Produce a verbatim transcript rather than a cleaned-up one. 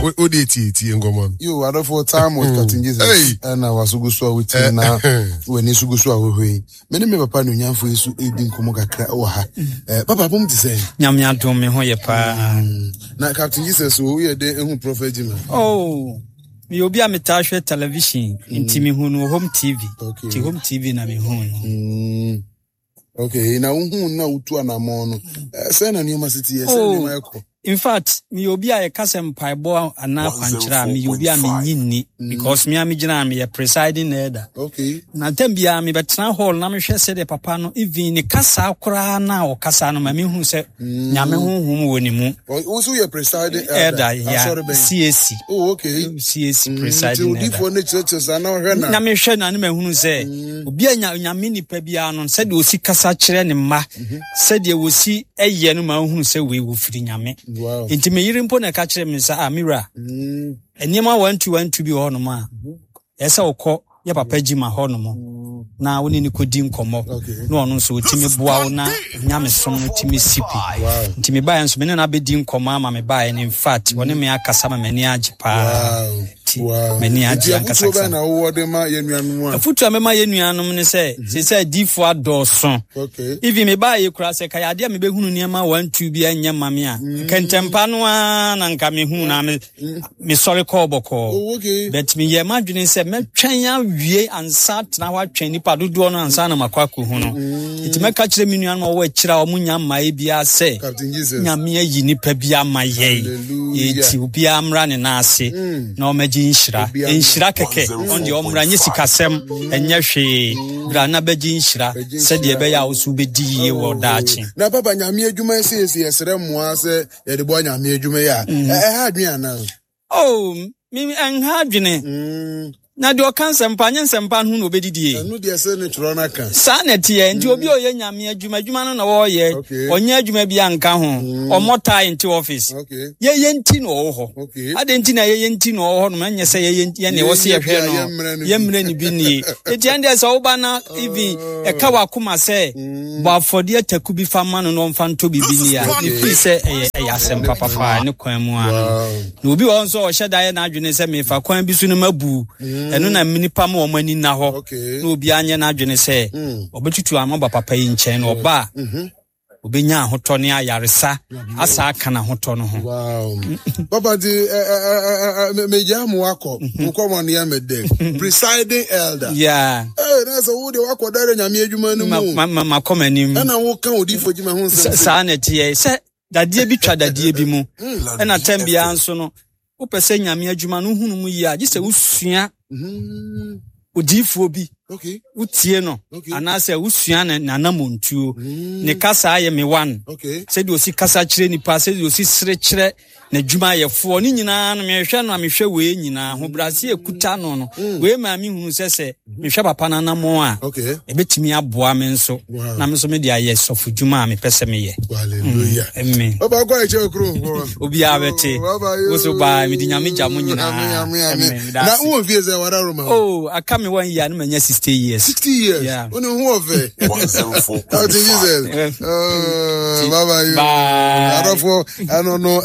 Wode tietie nkɔmmɔ no. Yo, adɔfoɔ, Time with Captain Jesus. Hey. Ɛna waso gu so a wotie na w'ani so gu so a wohwɛ yi. Me ne me papa ne onyamfo yi so ɛredi nkɔmmɔ kakra wɔ ha. Eh, papa pom te sɛ? Nyame adom, me ho yɛ paa. Na Captain Jesus, wo woyɛ dɛn ehu Prophet Jima? Oh, meyɛ obi a metaa hwɛ television, nti mehu no wɔ Home T V. Okay. Nti Home T V na mehu no. Mm. Okay, na wohu na wotu anammɔn no. Eh, sɛ na nneɛma si teɛ, sɛ Oh. nneɛma ɛkɔ. In fact, meyɛ obi a yɛka sɛ mpaebɔ anaa kwankyerɛ a, meyɛ obi a menyi nni, because me a megyina a meyɛ presiding elder. Okay. Na ntam biara mebɛtena hall na mehwɛ sɛdeɛ papa no, even ne kasa koraa na ɔkasa no ma mehu sɛ Nyame honhom wɔ ne mu. Wo wo nso yɛ presiding elder. Elder ya. Asɔre bɛn? C A C. Oh, okay. C A C Mm, Nti presiding elder. odiifoɔ no kyerɛkyerɛ saa na ɔhwɛ na. Na mehwɛ na ne mahunu sɛ obi a nya Nyame nipa biara no, sɛdeɛ ɔsi kasa kyerɛ ne mma, sɛdeɛ wɔsi ɛyɛ no, ma wohunu sɛ wei wɔfiri Nyame. Wow. Nti meyere mpo na ɛka kyerɛ me sɛ, a mewura, Mm. nneɛma one two one two bi wɔ hɔnom a ɛsɛ sɛ wokɔ yɛ papa gyima hɔnom na wo ne ne kɔdi nkɔmmɔ Okay. na ɔno nso ɔtumi boa wo na nyamesom no tumi si pi. Wow. Nti mebaeɛ nso, me ne no abɛdi nkɔmmɔ ama mebaeɛ no, in fact, ɔne me akasa ma m'ani agye paa. Wow. Nti Wow. m'ani Nti agye afotuo ankasa. bɛn na wowɔ de ma yɛn nuanom a? Afotu a mɛma yɛ nuanom ne sɛ, sɛ sɛ adiifoɔ adɔɔso. Okay. Even mebaayɛ kura sɛ kayɛ adeɛ a mebɛhunu nneɛma one two bi anyɛ ma me a, kɛntɛmpa no ara na nka mehu na me mesɔre kɔɔ bɔkɔɔ. Oh, okay. But meyɛ m'adwene sɛ mɛtwɛn awie ansa tena hɔ atwɛn nipa dodoɔ no ansa na makɔ akɔhu no. Nti mɛka kyerɛ me nuanom a wɔwɔ akyire a ɔmo nya mmaeɛ biara sɛ Captain Jesus. Nyame ayi nipa bi ama yɛn. Hallelujah. Enti obiara mmra ne nan ase na ɔmɛgye nhyira. Obiara nhyira kɛkɛ, ɔn deɛ ɔmmra, nyɛ sikasɛm, ɛnyɛ hwee, bra na bɛgye nhyira Bɛgye sɛdeɛ nhyira. ɛbɛyɛ a wo so wobɛdi yie wɔ daakye. Na papa, Nyame adwuma yi siesie, yɛsrɛ mmoa sɛ yɛde boa Nyame adwuma yi a, ɛ- ɛha adwene anaa? Oh, me ɛnha adwene. Mm, Na deɛ ɔka nsɛmpa nyɛ nsɛmpa no ho na obɛdidie. Ɛno deɛ, sɛ ne twerɛ no aka. Saa na ɛteɛ. Nti obi a ɔyɛ Nyame adwuma, adwuma no na wɔreyɛ. Okay. Ɔnyɛ adwuma bi anka ho, ɔmmɔ tae nte office. Okay. Yɛyɛ nti na ɔwɔ hɔ. Okay. Ade nti na yɛyɛ nti na ɔwɔ hɔ nom, ɛnyɛ sɛ yɛyɛ yɛne ɛwɔ sɛ Yɛnyɛ yɛhwɛ bi a no. yɛmmrɛ no bi. Yɛmmerɛ no bi nie. Enti ɛn deɛ, sɛ woba na even ɛka w'akoma sɛ bɔ afɔdeɛ taku bi fa ma no na ɔmfa ntɔ biribi ni a, mefii sɛ ɛyɛ ɛyɛ asɛm papapaa ne kwan mu ano. Wow. Na obi wɔ hɔ nso a ɔhyɛ da yɛ n'adwene sɛ mefa kwan bi so no mabu ɛno na nnipa ma wɔn ani nna hɔ. Okay. Na obiara nyɛ n'adwene sɛ ɔbɛtutu ama ba papa yi nkyɛn na ɔba a, obɛnya ahotɔ ne ayaresa asa aka n'ahotɔ no ho. Wow. Papa, nti ɛ- ɛ- ɛ- ɛ- ɛ- megyaa mo wakɔ wokɔmɔ no yɛ me dɛ, presiding elder. Yeah. Ee, na sɛ wo deɛ wakɔ dare Nyame adwuma no ma mu. ma ma makɔ m'anim. Ɛna woka odiifo gyima ho nsɛm. Sa- saa na ɛteɛ sɛ dadeɛ bi twa dadeɛ bi mu, ɛna tɛm biara nso no, wopɛ sɛ Nyame adwuma no wohunu mu yie a, gye sɛ wosua Mhm. odiyifoɔ bi, Okay. wotie no Okay. anaasɛ wosua ne n'anamontuo, ne kasa ayɛ me one, Okay. sɛdeɛ osi kasa kyerɛ nipa, sɛdeɛ osi sere kyerɛ n'adwumayɛfoɔ ne nyinaa no, mehwɛ no a, mehwɛ wei nyinaa ahobrɛase ekuta no no wei maa me hunu sɛ sɛ mehwɛ papa no anammɔn a, Okay. ɛbɛtumi aboa me nso Wow. na me nso mede ayɛ sɔfo dwuma a mepɛ sɛ meyɛ. Hallelujah. Amen. Papa, akɔ ɛkyɛ okuro hɔ. Obiara bɛte. Wo so baa, mede Nyame gya mo nyinaa. Amen, amen, amen. Amen. Meda Na ase. wowɔ fie sɛ wada Roma? Oh, aka me one year na manya sixty years. sixty years. Yeah. Wo ne ho ɔfɛ. one oh four point five. Captain Jesus. Uh, bye bye. Bye. Adɔfo, ɛno no.